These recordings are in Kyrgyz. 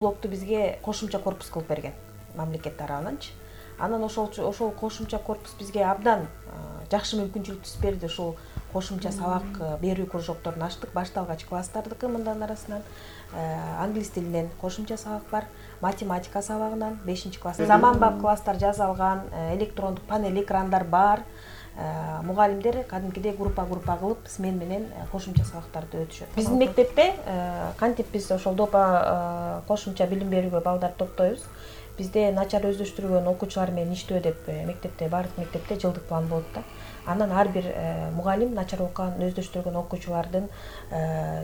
Блокту бизге кошумча корпус кылып берген мамлекет тарабынанчы. Анан ошол кошумча корпус бизге абдан жакшы мүмкүнчүлүк түзүп берди. Ушул кошумча сабак берүү кружокторун ачтык. Башталгач класстардыкы мындан арасынан англис тилинен кошумча сабак бар, математика сабагынан 5-класс. Заманбап класстар жасалган, электрондук панель экрандар бар. Мугалимдер кадимкидей группа кылып смен менен кошумча сабактарды өтүшөт. Биздин мектепте кантип биз ошол допа кошумча билим берүүгө балдарды топтойбуз. Бизде начар өздөштүрүлгөн окуучулар менен иштөө деп мектепте, бардык мектепте жылдык план болот да. Анан ар бир мугалим начар окуган, өздөштүргөн окуучулардын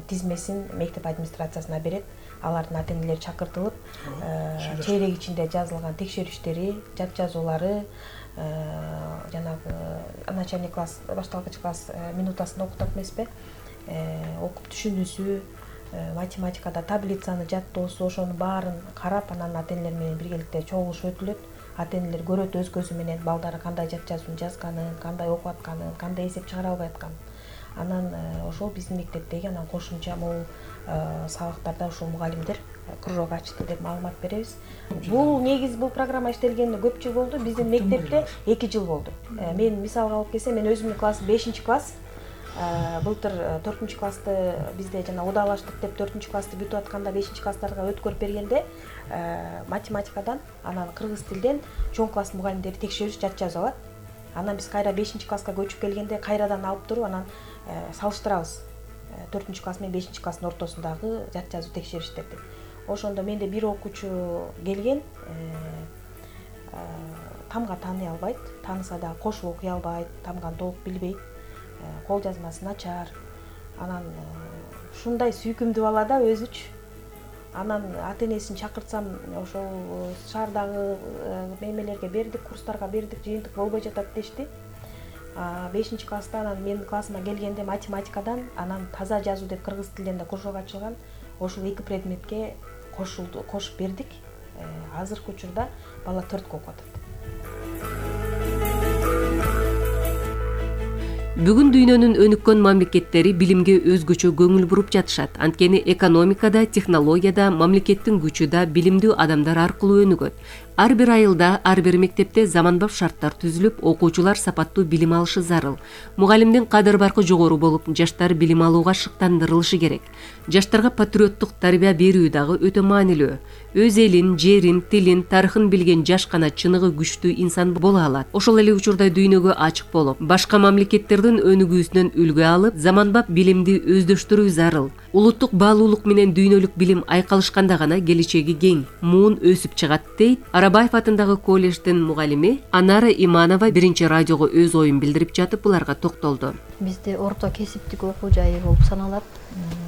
тизмесин мектеп администрациясына берет. Алардын ата-энелери чакыртылып, чейрек ичинде жазылган текшерүүчтери, жат жазуулары, жанагы начальный класс, башталгыч класс минутасында окутат эмеспи? Окуп түшүнүүсү, математикада таблицаны жаттоосу, ошонун баарын карап, анан ата-энелер менен биргеликте чогулуш өтүлөт. Ата-энелер көрөт өз көзү менен балдары кандай жат жазууну жазганын, кандай окуп атканын, кандай эсеп чыгара албай атканын. Анан ошол биздин мектептеги анан кошумча могу сабактарда ошол мугалимдер кружок ачты деп маалымат беребиз. Бул негизи бул программа иштелгенине көп жыл болду. Биздин мектепте 2 жыл болду. Мен мисалга алып келсем, мен өзүмдүн классым 5-класс. Былтыр 4-классты бизде жана удалаштык деп 4-классты бүтүп атканда 5-класстарга өткөрүп бергенде математикадан, анан кыргыз тилден чоң класс мугалимдери текшерүүчү жат жазып алат. Анан биз кайра 5-класска көчүп келгенде кайрадан алып туруп анан салыштырабыз. 4-класс менен 5-класстын ортосундагы жат жазуу текшериштерди. Ошондо менде бир окуучу келген, тамга тааный албайт, тааныса да кошуп окуй албайт, тамганы толук билбейт, кол жазмасы начар. Анан ушундай сүйкүмдүү бала да өзүчү. Анан ата-энесин чакыртсам, ошол шаардагы мемелерге бердик, курстарга бердик, жыйынтык болбой жатат дешти. 5-класста анан менин классыма келгенде математикадан, анан таза жазуу деп кыргыз тилинен да кружок ачылган. Ошол 2 предметке кошуп бердик. Азыркы учурда бала 4-кө окуп атат. Бүгүн дүйнөнүн өнүккөн мамлекеттери билимге өзгөчө көңүл буруп жатышат. Анткени экономикада, технологияда, мамлекеттин күчү да билимдүү адамдар аркылуу өнүгөт. Ар бир айылда, ар бир мектепте заманбап шарттар түзүлүп, окуучулар сапаттуу билим алышы зарыл. Мугалимдин кадыр-баркы жогору болуп, жаштар билим алууга шыктандырылышы керек. Жаштарга патриоттук тарбия берүү дагы өтө маанилүү. Өз элин, жерин, тилин, тарыхын билген жаш гана чыныгы күчтүү инсан боло алат. Ошол эле учурда дүйнөгө ачык болуп, башка мамлекеттердин өнүгүүсүнөн үлгү алып, заманбап билимди өздөштүрүү зарыл. Улуттук баалуулук менен дүйнөлүк билим айкалышканда гана келечеги кең, муун өсүп чыгат, дейт Арабаев атындагы колледждин мугалими Анара Иманова биринчи радиого өз оюн билдирип жатып буларга токтолду. Бизде орто кесиптик окуу жайы болуп саналат.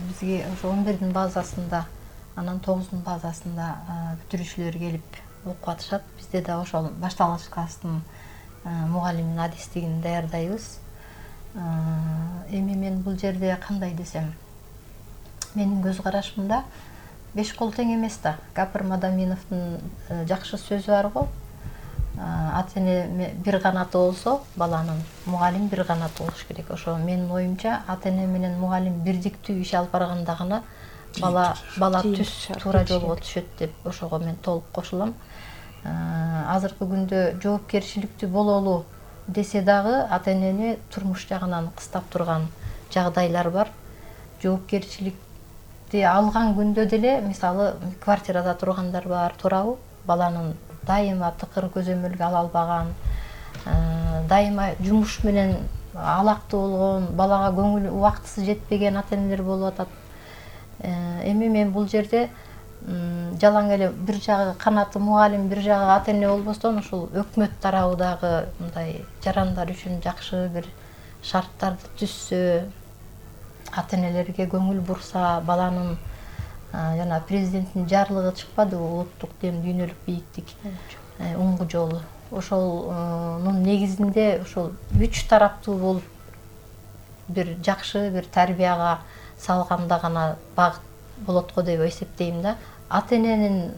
Бизге ошо 11-дин базасында, анан 9-дун базасында бүтүрүүчүлөр келип окуп атышат. Бизде да ошол башталгыч класстын мугалимин адистигин даярдайбыз. Эми мен бул жерде кандай десем, менин көз карашымда 5 кол тең эмес да. Гапыр Мадаминовдун жакшы сөзү бар го. Ата-эне бир канаты болсо, баланын мугалим бир канаты болуш керек. Ошо менин оюмча, ата-эне менен мугалим бирдиктүү иш алып барганда гана бала түз туура жолго түшөт деп ошого мен толук кошулам. Азыркы күндө жоопкерчиликтүү бололу десе дагы ата-энени турмуш жагынан кыстап турган жагдайлар бар. Жоопкерчиликти алган күндө деле, мисалы, квартирада тургандар бар, туурабы? Баланын дайыма тыкыр көзөмөлгө ала албаган, дайыма жумуш менен алактуу болгон, балага көңүл убактысы жетпеген ата-энелер болуп атат. Эми мен бул жерде жалаң эле бир жагы канаты мугалим, бир жагы ата-эне болбостон, ушул өкмөт тарабыдагы мындай жарандар үчүн жакшы бир шарттарды түзсө, ата-энелерге көңүл бурса, баланын жана президенттин жарлыгы чыкпады, улуттук дем дүйнөлүк бийиктик уңгу жолу. Ошолнун негизинде ошол 3 тараптуу болуп бир жакшы бир тарбияга салганда гана багыт болот го деп эсептейм да. Ата-эненин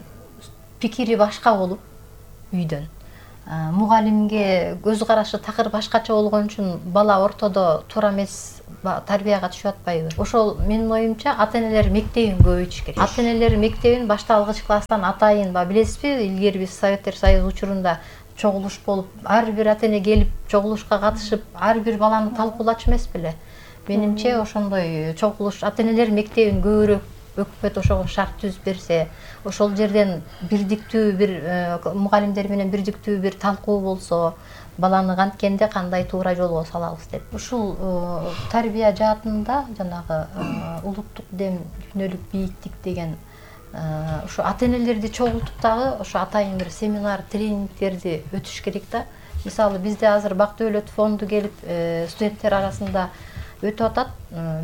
пикири башка болуп үйдөн, мугалимге көз карашы такыр башкача болгон үчүн бала ортодо туура эмес тарбияга түшүп атпайбы? Ошол менин оюмча ата-энелер мектебин көбөйтүш керек. Ата-энелер мектебин башталгыч класстан атайын билесизби, илгери биз Советтер Союзу учурунда чогулуш болуп, ар бир ата-эне келип чогулушка катышып, ар бир баланы талкуулачу эмес беле? Менимче ошондой чогулуш ата-энелер мектебин көбүрөөк өкмөт ошого шарт түзүп берсе, ошол жерден бирдиктүү бир мугалимдер менен бирдиктүү бир талкуу болсо, баланы канткенде кандай туура жолго салабыз деп. Ушул тарбия жаатында жанагы улуттук дем, дүйнөлүк бийиктик деген ушу ата-энелерди чогултуп дагы ошо атайын бир семинар, тренингтерди өтүш керек да. Мисалы бизде азыр Бак Дөөлөт фонду келип студенттер арасында өтүп атат.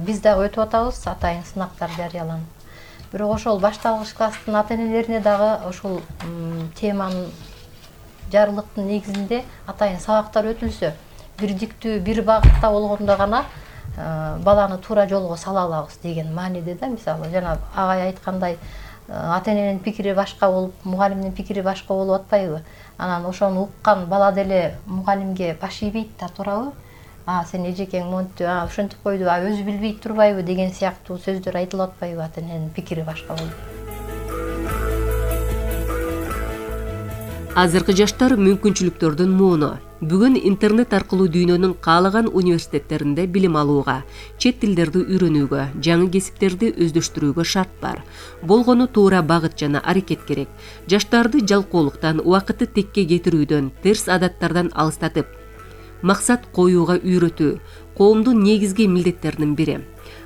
Биз дагы өтүп атабыз, атайын сынактар жарыяланып. Бирок ошол башталгыч класстын ата-энелерине дагы ошол теманын жарылыктын негизинде атайын сабактар өтүлсө, бирдиктүү бир багытта болгондо гана баланы туура жолго сала алабыз деген мааниде да. Мисалы жана агай айткандай, ата-эненин пикири башка болуп, мугалимдин пикири башка болуп атпайбы? Анан ошону уккан бала деле мугалимге баш ийбейт да, туурабы? Сен эжекең монтип, ошентип койду, өзү билбейт турбайбы деген сыяктуу сөздөр айтылып атпайбы ата-эненин пикири башка болуп? Азыркы жаштар мүмкүнчүлүктөрдүн мууну. Бүгүн интернет аркылуу дүйнөнүн каалаган университеттеринде билим алууга, чет тилдерди үйрөнүүгө, жаңы кесиптерди өздөштүрүүгө шарт бар. Болгону туура багыт жана аракет керек. Жаштарды жалкоолуктан, убакытты текке кетирүүдөн, терс адаттардан алыстатып, максат коюуга үйрөтүү коомдун негизги милдеттеринин бири.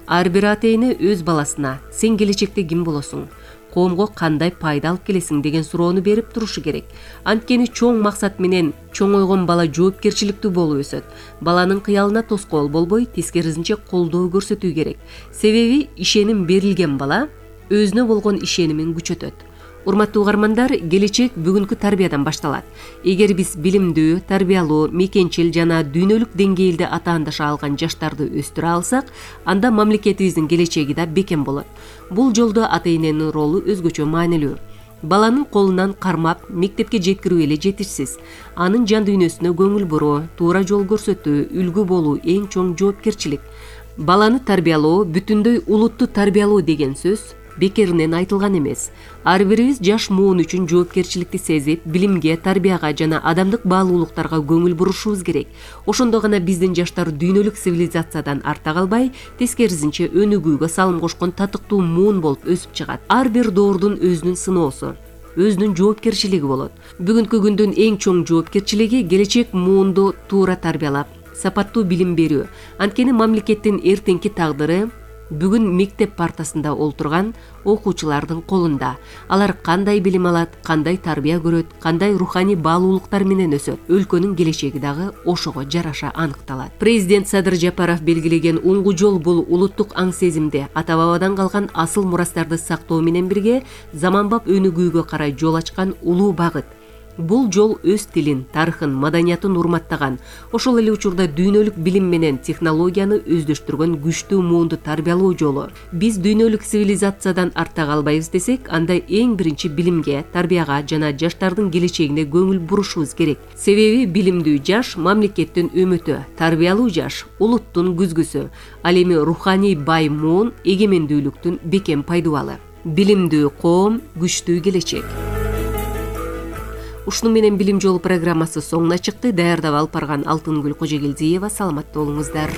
Ар бир ата-эне өз баласына сен келечекте ким болосуң, коомго кандай пайда алып келесиң деген суроону берип турушу керек. Анткени чоң максат менен чоң ойгон бала жоопкерчиликтүү болуп өсөт. Баланын кыялына тоскоол болбой, тескерисинче колдоо көрсөтүү керек. Себеби ишеним берилген бала өзүнө болгон ишенимин күчөтөт. Урматтуу угармандар, келечек бүгүнкү тарбиядан башталат. Эгер биз билимдүү, тарбиялуу, мекенчил жана дүйнөлүк деңгээлде атаандаша алган жаштарды өстүрө алсак, анда мамлекетибиздин келечеги да бекем болот. Бул жолдо ата-эненин ролу өзгөчө маанилүү. Баланын колунан кармап, мектепке жеткирүү эле жетишсиз. Анын жан дүйнөсүнө көңүл буруу, туура жол көрсөтүү, үлгү болуу эң чоң жоопкерчилик. Баланы тарбиялоо, бүтүндөй улутту тарбиялоо деген сөз бекеринен айтылган эмес. Ар бирибиз жаш муун үчүн жоопкерчиликти сезип, билимге, тарбияга жана адамдык баалуулуктарга көңүл бурушубуз керек. Ошондо гана биздин жаштар дүйнөлүк цивилизациядан арта калбай, тескерисинче өнүгүүгө салым кошкон татыктуу муун болуп өсүп чыгат. Ар бир доордун өзүнүн сыноосу, өзүнүн жоопкерчилиги болот. Бүгүнкү күндүн эң чоң жоопкерчилиги келечек муунду туура тарбиялап, сапаттуу билим берүү. Анткени мамлекеттин эртеңки тагдыры бүгүн мектеп партасында олтурган окуучулардын колунда. Алар кандай билим алат, кандай тарбия көрөт, кандай руханий баалуулуктар менен өсөт, өлкөнүн келечеги дагы ошого жараша аныкталат. Президент Садыр Жапаров белгилеген уңгу жол бул улуттук аң сезимди, ата-бабадан калган асыл мурастарды сактоо менен бирге заманбап өнүгүүгө карай жол ачкан улуу багыт. Бул жол өз тилин, тарыхын, маданиятын урматтаган, ошол эле учурда дүйнөлүк билим менен технологияны өздөштүргөн күчтүү муунду тарбиялоо жолу. Биз дүйнөлүк цивилизациядан артта калбайбыз десек, анда эң биринчи билимге, тарбияга жана жаштардын келечегине көңүл бурушубуз керек. Себеби билимдүү жаш мамлекеттин үмүтү, тарбиялуу жаш улуттун күзгүсү, ал эми руханий бай муун эгемендүүлүктүн бекем пайдубалы. Билимдүү коом, күчтүү келечек. Ушуну менен Билим жолу программасы соңуна чыкты. Даярдап алып барган Алтынгүл Кожогелдиева. Саламатта болуңуздар.